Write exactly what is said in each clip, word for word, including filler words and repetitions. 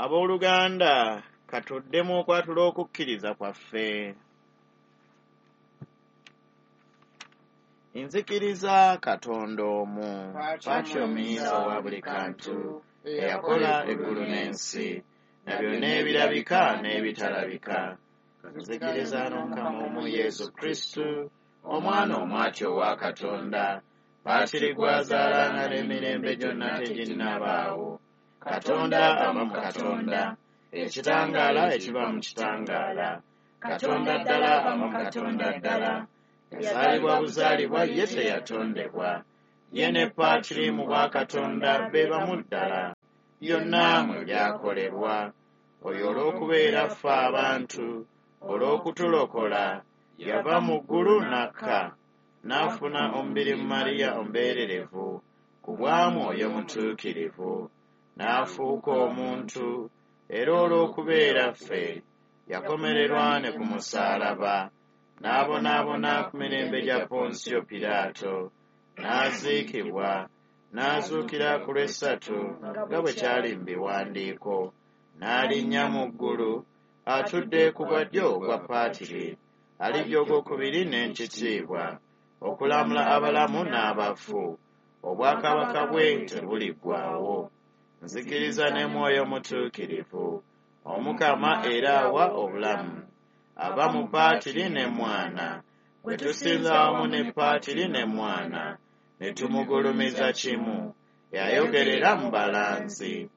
Abooluganda, katuddemu okwatula okukkiriza kwaffe. Nzikiriza Katonda omu, Patri omuyinza wa buli kantu, eyakola eggulu n'ensi, na byonna ebirabika n'ebitalabika. Nzikiriza n'Omukama omu Yesu Kristu, Omwana omwati owa Katonda, Patri gw'azaala nga n'emirembe gyonna teginnabaawo. Katonda ava mu Katonda, ekitangaala ekiva mu kitangaala. Katonda ddala ava mu Katonda ddala. Yazaalibwa buzaalibwa, ye teyatondebwa. Ye ne Patri mu bwakatonda be bamu ddala. Byonna mwe byakolebwa. Oyo olw'okubeera ffe abantu, olw'okutulokola, yava mu ggulu n'akka, n'afuna omubiri mu Mariya ombeererevu, ku bwa Mwoyo Mutuukirivu, n'afuuka omuntu, era olw'okubeera ffe, yakomererwa ne ku musaalaba, n'abonaabona ku mirembe gya Ponsiyo Piraato, n'aziikibwa, n'azuukira ku lw'essatu nga bwe kyali mu biwandiiko, n'alinnya mu ggulu, atudde ku bwa ddyo obwa Patri, alijja ogwokubiri n'ekitiibwa, okulamula abalamu n'abafu. Obwakabaka bwe tebuliggwaawo. Nzikiriza ne Mwoyo Mutuukirivu, Omukama era awa obulamu, ava mu Patri ne Mwana, gwe tusinza wamu ne Patri ne Mwana, ne tumugulumiza kimu, yayogerera mu balanzi.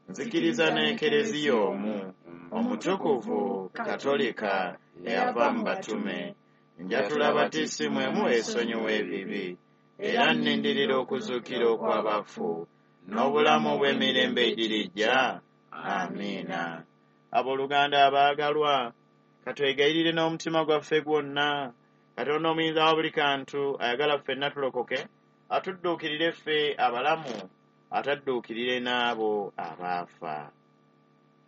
Nzikiriza n'Ekereziya omu, omutukuvu, Katolika, eyava mu batume. Njatula batisimu emu esonyiwa ebibi, era nnindirira okuzuukira okw'abafu, n'obulamu obw'emirembe egirijja. Amiina. Abooluganda abaagalwa, katwegayirire n'omutima gwaffe gwonna. Katonda omuyinza wa buli kantu ayagala ffenna tulokoke, atudduukirire ffe abalamu, atadduukirire n'abo abaafa.